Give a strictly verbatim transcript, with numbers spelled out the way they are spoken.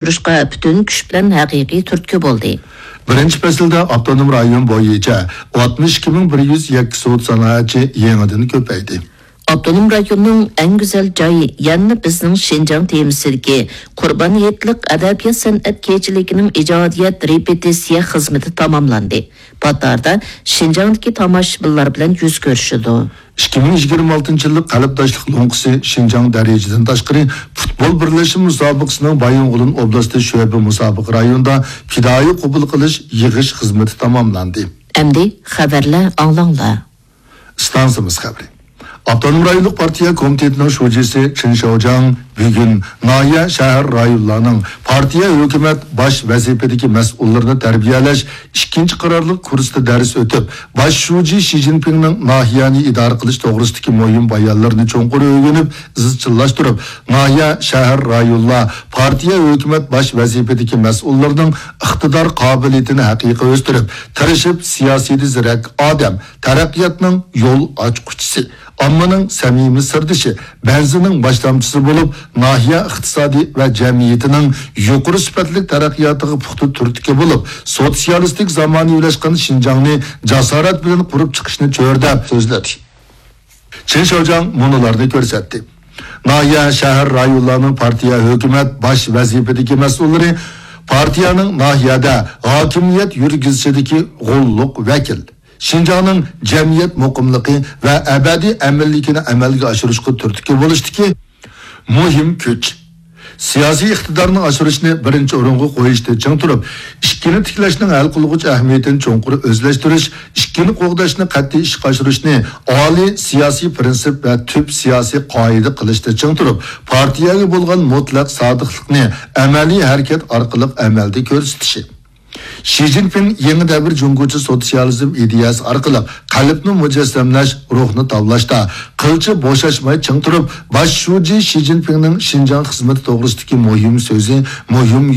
ئاشۇرۇشقا پۈتۈن كۈچ بىلەن ھەقىقىي تۈرتكە بولدى. بىرىنچى پەسىلدە ئاپتونوم رايون بويىچە ئاتمىش ئىككى مىڭ بىر يۈز يەككە سودا سانائەتچى يېڭىدىن كۆپەيدى. ئاپتونوم رايوننىڭ ئەڭ گۈزەل جايى، يەنىلا بىزنىڭ شىنجاڭ تېمىسىدىكى قۇربان ھېيتلىق ئەدەبىيات-سەنئەت كېچىلىكىنىڭ ئىجادىيەت رېپېتىتسىيە خىزمىتى تاماملاندى. پات ئارىدا شىنجاڭدىكى تاماشىبىنلار بىلەن يۈز كۆرۈشىدۇ. ئىككى مىڭ يىگىرمە ئالتىنچى يىللىق قەلبداشلىق لوڭقىسى شىنجاڭ دەرىجىدىن تاشقىرى پۇتبول بىرلەشمە مۇسابىقىسىنىڭ بايىنغولىن ئوبلاستى شۆبە مۇسابىقە رايونىدا پىدائىي قوبۇل قىلىش، يىغىش خىزمىتى تاماملاندى. ئەمدى خەۋەرلەر ئاڭلاڭلار. ئىستانسىمىز خەۋىرى. ئاپتونوم رايونلۇق پارتىيە كومىتېتىنىڭ شۇجىسى چېن شياۋجياڭ بۈگۈن ناھىيە، شەھەر، رايونلارنىڭ پارتىيە، ھۆكۈمەت باش ۋەزىپىدىكى مەسئۇللىرىنى تەربىيەلەش ئىككىنچى قارارلىق كۇرسىدا دەرس ئۆتۈپ، باش شۇجى شى جىنپىڭنىڭ ناھىيەنى ئىدارە قىلىش توغرىسىدىكى مۇھىم بايانلىرىنى چوڭقۇر ئۆگىنىپ، ئىزچىللاشتۇرۇپ، ناھىيە، شەھەر، رايونلار، پارتىيە، ھۆكۈمەت باش ۋەزىپىدىكى مەسئۇللىرىنىڭ ئىقتىدار قابىلىيىتىنى ھەقىقىي ئۆستۈرۈپ، تىرىشىپ، سىياسىيدە زېرەك ئادەم، تەرەققىياتنىڭ يول ئاچقۇچىسى، ئاممىنىڭ سەمىمىي سىردىشى، بەنزىنىڭ باشلامچىسى بولۇپ، ناھىيە ئىقتىسادى ۋە جەمئىيىتىنىڭ يۇقىرى سۈپەتلىك تەرەققىياتىغا پۇختا تۈرتكە بولۇپ، سوتسىيالىستىك زامانىۋىلاشقان شىنجاڭنى جاسارەت بىلەن قۇرۇپ چىقىشنى چۆرىدەپ سۆزلىدى. چېن شياۋجياڭ مۇنۇلارنى كۆرسەتتى. ناھىيە، شەھەر، رايونلارنىڭ پارتىيە، ھۆكۈمەت باش ۋەزىپىدىكى مەسئۇللىرى پارتىيەنىڭ ناھىيەدە ھاكىمىيەت يۈرگۈزۈشىدىكى غوللۇق ۋەكىل، شىنجاڭنىڭ جەمئىيەت مۇقىملىقى ۋە ئەبەدىي ئەمىنلىكىنى ئەمەلگە ئاشۇرۇشقا تۈرتكە بولۇشتىكى مۇھىم كۈچ. سىياسىي ئىقتىدارنى ئاشۇرۇشنى بىرىنچى ئورۇنغا قويۇشتا چىڭ تۇرۇپ، ئىككىنى تىكلەشنىڭ ھەل قىلغۇچ ئەھمىيىتىنى چوڭقۇر ئۆزلەشتۈرۈش، ئىككىنى قوغداشنى قەتئىي ئىشقا ئاشۇرۇشنى ئالىي سىياسىي پىرىنسىپ ۋە تۈپ سىياسىي قائىدە قىلىشتا چىڭ تۇرۇپ، پارتىيەگە بولغان مۇتلەق سادىقلىقنى ئەمەلىي ھەرىكەت ئارقىلىق ئەمەلدە كۆرسىتىشى. شى جىنپىڭ يېڭى دەۋر جۇڭگوچە سوتسىيالىزم ئىدىيەسى ئارقىلىق قەلبنى مۇجەسسەملەش، روھنى تاۋلاشتا قىلچە بوشاشماي چىڭ تۇرۇپ، باش شۇجى شى جىنپىڭنىڭ شىنجاڭ خىزمىتى توغرىسىدىكى مۇھىم سۆزى، مۇھىم